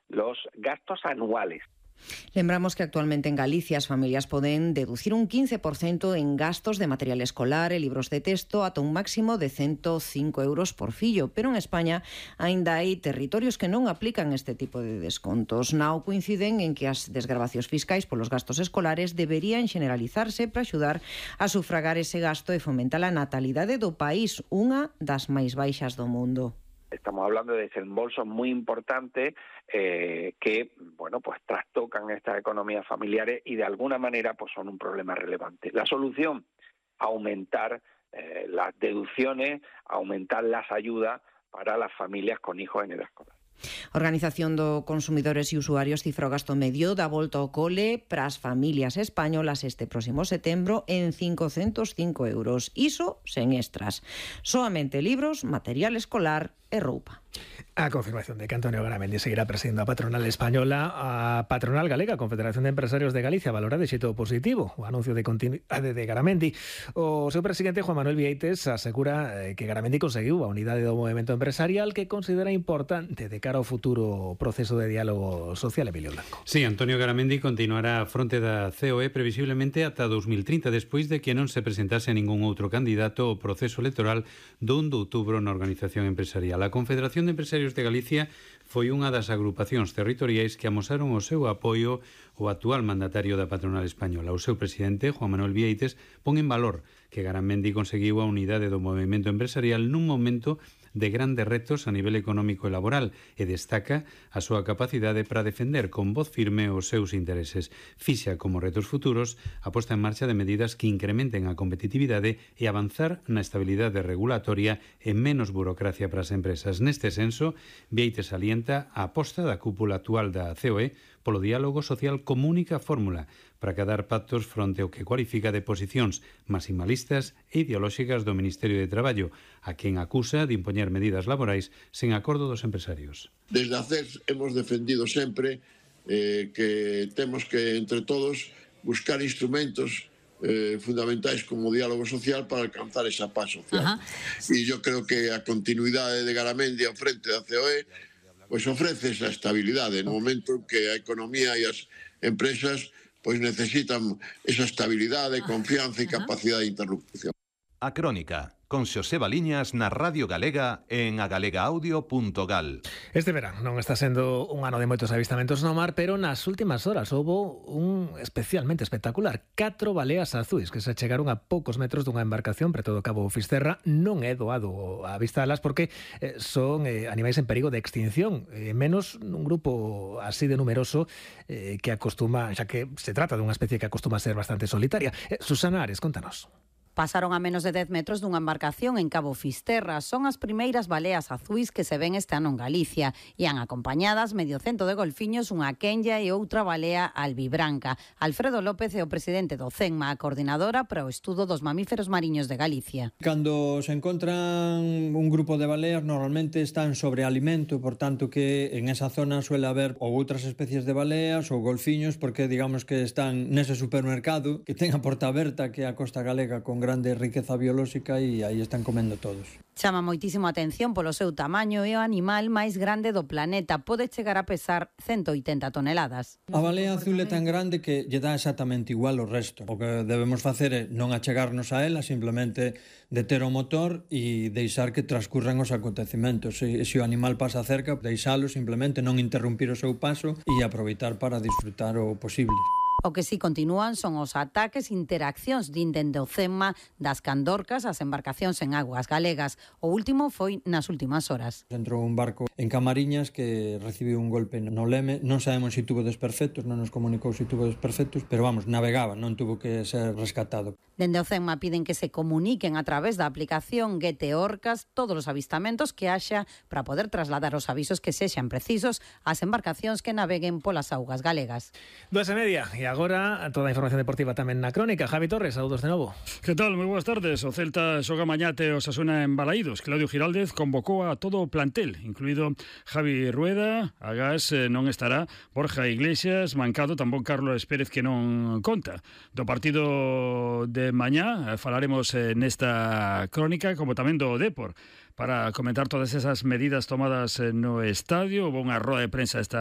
los gastos anuales. Lembramos que actualmente en Galicia as familias poden deducir un 15% en gastos de material escolar e libros de texto ata un máximo de 105 euros por fillo, pero en España aínda hai territorios que non aplican este tipo de descontos. Nao coinciden en que as desgravacións fiscais polos gastos escolares deberían generalizarse para axudar a sufragar ese gasto e fomentar a natalidade do país, unha das máis baixas do mundo. Estamos hablando de desembolsos muy importantes que, bueno, pues trastocan estas economías familiares y de alguna manera pues son un problema relevante. La solución, aumentar las deducciones, aumentar las ayudas para las familias con hijos en edad escolar. A Organización de Consumidores e Usuarios cifra o gasto medio da volta ao cole para as familias españolas este próximo setembro en 505 euros. Iso sen extras. Soamente libros, material escolar e roupa. A confirmación de que Antonio Garamendi seguirá presidindo a patronal española, a patronal galega, Confederación de Empresarios de Galicia, valora de xeito positivo o anuncio de continuidade de Garamendi. O seu presidente, Juan Manuel Vieites, asegura que Garamendi conseguiu a unidade do movemento empresarial que considera importante de cara ao futuro proceso de diálogo social. Emilio Blanco. Sí, Antonio Garamendi continuará a fronte da COE previsiblemente ata 2030, despois de que non se presentase ningún outro candidato ao proceso electoral do 1 de outubro na organización empresarial. A Confederación de Empresarios de Galicia foi unha das agrupacións territoriais que amosaron o seu apoio ao actual mandatario da patronal española. O seu presidente, Juan Manuel Vieites, pon en valor que Garamendi conseguiu a unidade do movemento empresarial nun momento de grandes retos a nivel económico e laboral e destaca a súa capacidade para defender con voz firme os seus intereses. Fixa como retos futuros a posta en marcha de medidas que incrementen a competitividade e avanzar na estabilidade regulatoria e menos burocracia para as empresas. Neste senso, Vieites alienta a aposta da cúpula actual da COE polo diálogo social como única fórmula para cadar pactos fronte ao que cualifica de posicións maximalistas e ideolóxicas do Ministerio de Traballo, a quen acusa de impoñer medidas laborais sen acordo dos empresarios. Desde a CES hemos defendido sempre que temos que, entre todos, buscar instrumentos fundamentais como o diálogo social para alcanzar esa paz social. E yo creo que a continuidade de Garamendi ao frente da COE pois ofrece esa estabilidade no momento en que a economía e as empresas pois necesitan esa estabilidade, confianza e capacidade de interrupción. A Crónica, con Xoseba Liñas na Radio Galega en agalegaaudio.gal. Este verán non está sendo un ano de moitos avistamentos no mar, pero nas últimas horas houbo un especialmente espectacular. 4 baleas azuis que se chegaron a poucos metros dunha embarcación preto do Cabo Fisterra. Non é doado avistalas porque son animais en perigo de extinción, menos nun grupo así de numeroso que acostuma, xa que se trata dunha especie que acostuma a ser bastante solitaria. Susana Ares, contanos. Pasaron a menos de 10 metros dunha embarcación en Cabo Fisterra. Son as primeiras baleas azuis que se ven este ano en Galicia. Ian acompañadas medio cento de golfiños, unha quenlla e outra balea albibranca. Alfredo López é o presidente do CENMA, a coordinadora para o estudo dos mamíferos mariños de Galicia. Cando se encontran un grupo de baleas, normalmente están sobre alimento, por tanto que en esa zona suele haber ou outras especies de baleas ou golfiños, porque digamos que están nese supermercado que ten a porta aberta, que é a costa galega, con grande riqueza biolóxica, e aí están comendo todos. Chama moitísimo a atención polo seu tamaño, é o animal máis grande do planeta, pode chegar a pesar 180 toneladas. A balea azul é tan grande que lle dá exactamente igual o resto. O que debemos facer é non achegarnos a ela, simplemente deter o motor e deixar que transcurran os acontecimentos. Se o animal pasa cerca, deixalo, simplemente non interrumpir o seu paso e aproveitar para disfrutar o posible. O que sí continúan son os ataques e interaccións dende o CENMA das candorcas ás embarcacións en aguas galegas. O último foi nas últimas horas. Entrou un barco en Camariñas que recibiu un golpe no leme. Non sabemos se tuvo desperfectos, non nos comunicou se tuvo desperfectos, pero vamos, navegaba, non tuvo que ser rescatado. Dende o CENMA piden que se comuniquen a través da aplicación Guete Orcas todos os avistamentos que haxa para poder trasladar os avisos que sexan precisos ás embarcacións que naveguen polas augas galegas. 2:30 e agora toda a información deportiva tamén na Crónica. Javi Torres, saúdos de novo. Que tal? Moi boas tardes. O Celta xoga mañá te Osasuna en Balaídos. Claudio Giraldez convocou a todo o plantel, incluído Javi Rueda. Agás non estará, Borja Iglesias mancado, tampouco Carlos Pérez, que non conta. Do partido de mañá falaremos nesta Crónica, como tamén do Depor, para comentar todas esas medidas tomadas no estadio. Houve unha roda de prensa esta